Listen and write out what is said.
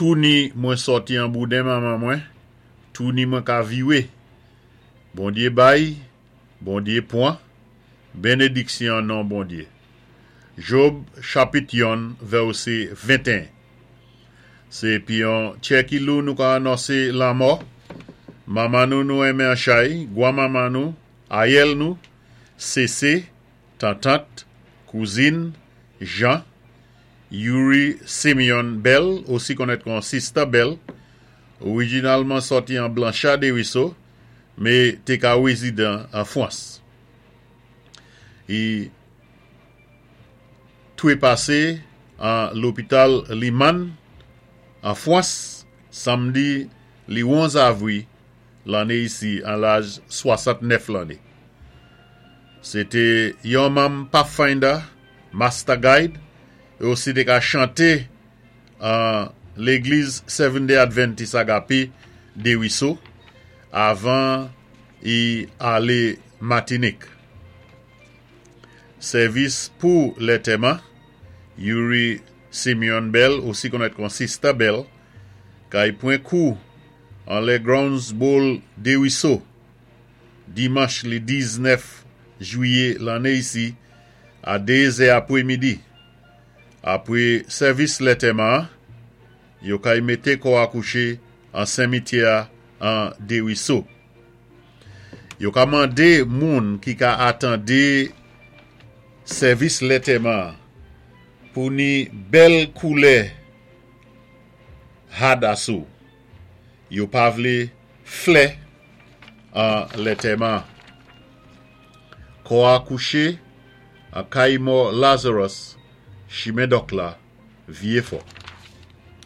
Touni mwen sòti an bouden manman mwen, touni mwen ka viwé. Bondyé bay, Bondyé pwan, benediksyon non Bondyé. Job chapit yonn vèsé 21. Sé pi yon tyè ki lou nou ka anonsé lanmò manman nou nou enmen an chay, gwan manman nou, ayèl nou, Sese, tantant, kouzin, Jean, Youri Simeon Bell, osi konnèt kon Sista Bell, orijinalman sòti an Blanchard Desruisseaux, mé té ka wézidan an Fwans. I twépasé an lopital Limann an Fwans samdi li 11 avwi lanné isi an laj 69 lanné. Sé té yon manm Pathfinder Master Guide é osi té ka chanté an légliz Seventh Day Adventist Agape Desruisseaux avan i alé Matinik. Sèvis pou lètèman, Youri Simeon Bell, osi konnèt kon Sista Bell, kay pwen kou anlè Grounds Bowl Desruisseaux, dimanch li 19 jwiyé lanné isi a 2 zè apwé midi. Apwé sèvis lètèman an, yo kay mété kò a kouché an senmityè a an Desruisseaux. Yo ka mandé moun ki ka atandé sèvis lètèman an pou ni bèl koulè had asou. Yo pa vlé flè an lètèman an. Kò a kouché an kay mò Lazarus, chimen Dòk la, Vyé Fò.